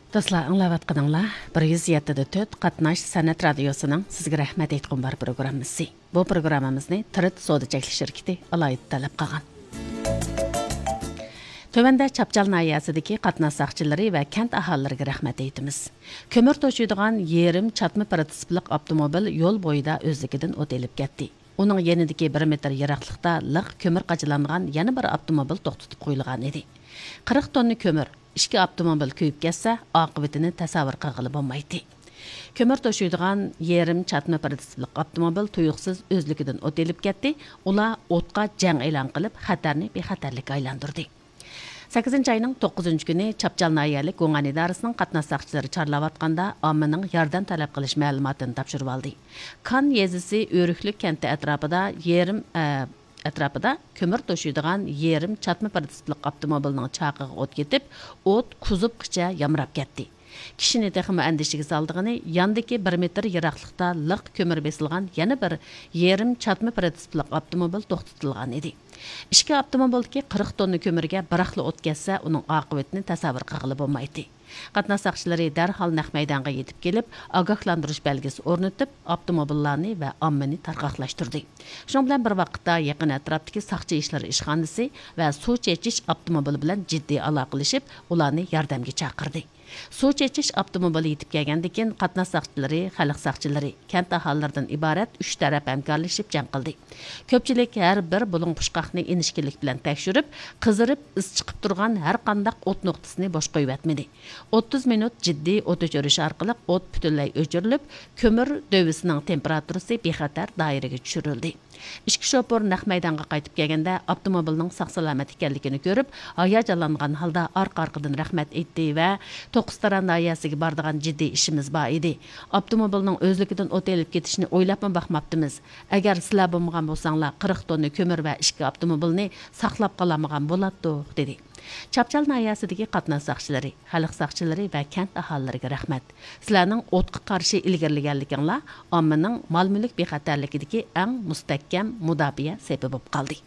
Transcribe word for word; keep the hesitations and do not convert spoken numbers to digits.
دوستلار، ئاڭلاۋاتقىنىڭلار بىر يۈز يەتتە دە تۆت قاتناش سەنئەت رادىيوسىنىڭ سىزگە رەھمەت ئېيتقۇم بار پروگراممىسى. بۇ پروگراممىمىزنى تىرىت سودا چەكلىك شىركىتى ئالاھىدە تەلەپ قىلغان. تۆۋەندە چاپچال ناھىيەسىدىكى قاتناش ساقچىلىرى ۋە كەنت ئاھالىلىرىگە رەھمەت ئېيتىمىز. كۆمۈر توشۇيدىغان يېرىم چاتما پىرىتسىپلىق ئاپتوموبىل يول بويىدا ئۆزلۈكىدىن ئوت ئېلىپ كەتتى. ئۇنىڭ يېنىدىكى بىر مېتىر يىراقلىقتا لىق كۆمۈر قاچىلانغان يەنە بىر ئاپتوموبىل توختىتىپ قويۇلغان ئىدى. قىرىق توننا كۆمۈر، ئىككى ئاپتوموبىل كۆيۈپ كەتسە، ئاقىۋىتىنى تەسەۋۋۇر قىلغىلى بولمايتتى. كۆمۈر توشۇيدىغان يېرىم چاتما پىرىتسىپلىق ئاپتوموبىل تۇيۇقسىز ئۆزلۈكىدىن ئوت ئېلىپ كەتتى. ئۇلار ئوتقا جەڭ ئېلان قىلىپ، خەتەرنى بىخەتەرلىككە ئايلاندۇردى. سەككىزىنچى ئاينىڭ توققۇزىنچى كۈنى چاپچال ناھىيەلىك گۇڭئەن ئىدارىسىنىڭ قاتناش ساقچىلىرى چارلاۋاتقاندا، ئاممىنىڭ ياردەم تەلەپ قىلىش مەلۇماتىنى تاپشۇرۇۋالدى. كان يېزىسى ئۆرۈكلۈك كەنتى ئەتراپىدا يېرىم، ئە، ئەتراپىدا كۆمۈر توشۇيدىغان يېرىم چاتما پىرىتسىپلىق ئاپتوموبىلنىڭ چاقىغا ئوت كېتىپ، ئوت كۇزۇپقىچە يامراپ كەتتى. كىشىنى تېخىمۇ ئەندىشىگە سالىدىغىنى، ياندىكى بىر مېتىر يىراقلىقتا لىق كۆمۈر بېسىلغان يەنە بىر يېرىم چاتما پىرىتسىپلىق ئاپتوموبىل توختىتىلغان ئىدى. ئىككى ئاپتوموبىلدىكى قىرىق توننا كۆمۈرگە بىراقلا ئوت كەتسە، ئۇنىڭ ئاقىۋىتىنى تەسەۋۋۇر قىلغىلى بولمايتتى. قاتناش ساقچىلىرى دەرھال نەق مەيدانغا يېتىپ كېلىپ، ئاگاھلاندۇرۇش بەلگىسى ئورنىتىپ، ئاپتوموبىللارنى ۋە ئاممىنى تارقاقلاشتۇردى. شۇنىڭ بىلەن بىر ۋاقىتتا، يېقىن ئەتراپتىكى ساقچى ئىشلىرى ئىشخانىسى ۋە سۇ چېچىش ئاپتوموبىلى بىلەن جىددىي ئالاقىلىشىپ، ئۇلارنى ياردەمگە چاقىردى. سۇ چېچىش ئاپتوموبىلى يېتىپ كەلگەندىن كېيىن، قاتناش ساقچىلىرى، خەلق ساقچىلىرى، كەنت ئاھالىلىرىدىن ئىبارەت ئۈچ تەرەپ ھەمكارلىشىپ جەڭ قىلدى. كۆپچىلىك ھەر بىر بۇلۇڭ پۇچقاقنى ئىنچىكىلىك بىلەن تەكشۈرۈپ، قىزىرىپ ئىس چىقىپ تۇرغان ھەر قانداق ئوت نۇقتىسىنى بوش قويۇۋەتمىدى. ئوتتۇز مىنۇت جىددىي ئوت ئۆچۈرۈش ئارقىلىق ئوت پۈتۈنلەي ئۆچۈرۈلۈپ، كۆمۈر دۆۋىسىنىڭ تېمپېراتۇرىسى بىخەتەر دائىرىگە چۈشۈرۈلدى. ئىككى شوپۇر نەق مەيدانغا قايتىپ كەلگەندە، ئاپتوموبىلنىڭ ساق-سالامەت ئىكەنلىكىنى كۆرۈپ، ھاياجانلانغان ھالدا ئارقا-ئارقىدىن رەھمەت ئېيتتى ۋە توققۇزتارا ناھىيەسىگە بارىدىغان جىددىي ئىشىمىز بار ئىدى. ئاپتوموبىلنىڭ ئۆزلۈكىدىن ئوت ئېلىپ كېتىشىنى ئويلاپمۇ باقماپتىمىز. ئەگەر سىلەر بولمىغان بولساڭلار، قىرىق توننا كۆمۈر ۋە ئىككى ئاپتوموبىلنى ساقلاپ قالالمىغان بولاتتۇق، دېدى. چاپچال ناھىيەسىدىكى قاتناش ساقچىلىرى، خەلق ساقچىلىرى ۋە كەنت ئاھالىلىرىگە رەھمەت. سىلەرنىڭ ئوتقا قارشى ئىلگىرىلىگەنلىكىڭلار ئاممىنىڭ مال-مۈلۈك بىخەتەرلىكىدىكى ئەڭ مۇستەھكەم مۇداپىئە سېپى بولۇپ قالدى.